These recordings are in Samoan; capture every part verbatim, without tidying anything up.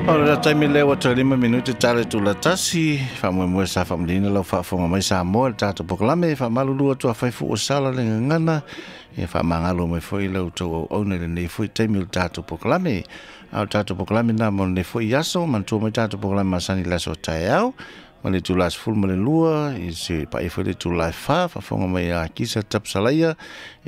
O le taimi lea ua toe lima minute tale tula tasi, faamoemoe sa faamalieina lau faafofoga mai Samoa i le tatou polokalame, faamalulu atu afai foi ua sala le gagana, ia faamagalo mai foi lau tou auauna i lenei foi taimi o le tatou polokalame. A o le tatou polokalame lena mo lenei foi aso, manatua mai tatou polokalame masani i le aso taeao, ma le itula e sefulu ma le lua, i se paia foi le itula e fa, faafofoga mai ia Kisa Tapsalaia,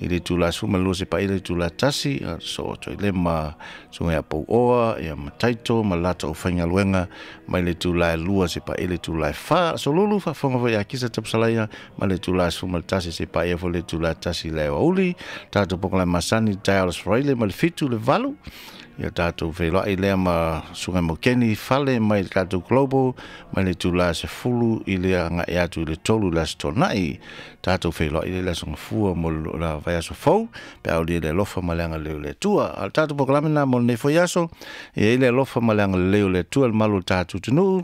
i le itula e sefulu ma le lua se paia le itula e tasi, so toe le ma suga ia Pauoa, ia ma Taito, ma latou aufaigaluega, mai le itula e lua se paia le itula e fa. Solulu faafofoga foi ia Kisa Tapsalaia, ma le itula e sefulu ma le tasi se paia foi le itula e tasi i le aoauli. Tatou polokalame masani taeao le Aso Faraile ma le fitu le valu, ia tatou feiloai lea ma suga Mokeni fale mai le tatou Global, mai le itula e sefulu i le agai atu i le tolu i le Aso Toonai. Tatou feiloai lea i le Aso Gafua mo le vaiaso fou, pe a aulia le alofa ma le agalelei o le Atua. A o le tatou polokalame lena mo lenei foi aso, e i ai le alofa ma le agalelei o le Atua i le malu o le tatou atunuu,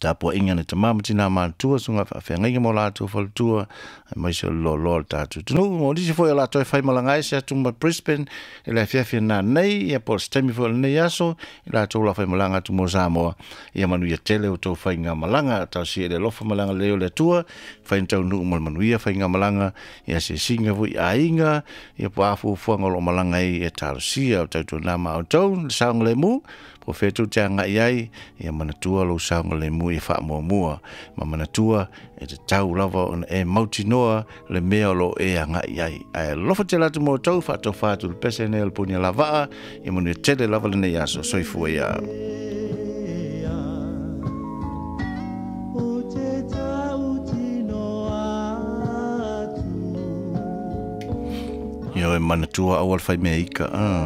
tapuaiga na tama ma tina matutua, suga faafeagaiga ma o latou faletua, aemaise o le loaloa o le tatou atunuu. O nisi foi o latou e faimalaga ai se atu ma Brisbane i le afiafi nanei, ia po o se taimi foi o lenei aso, i latou la faimalaga atu mo Samoa, ia manuia tele o tou faigamalaga. Talosia i le alofa ma le agalelei o le Atua, fai ni taunuu ma le manuia faigamalaga, ia asiasiga foi i aiga, ia po o a fuafuaga o lo o malaga ai, ia talosia o tautuana ma outou, le saogalemu, po o fea tou te agai ai, ia manatua lou saogalemu ia faamuamua, ma manatua e tatau lava ona e mautinoa le mea o lo o e agai ai. Ae alofa tele atu mo outou, faatofa atu le pese nei o le puni lavaa, ia manuia tele lava lenei aso. Soifua ia. Ia e manatua aua le faimea ika. Ah.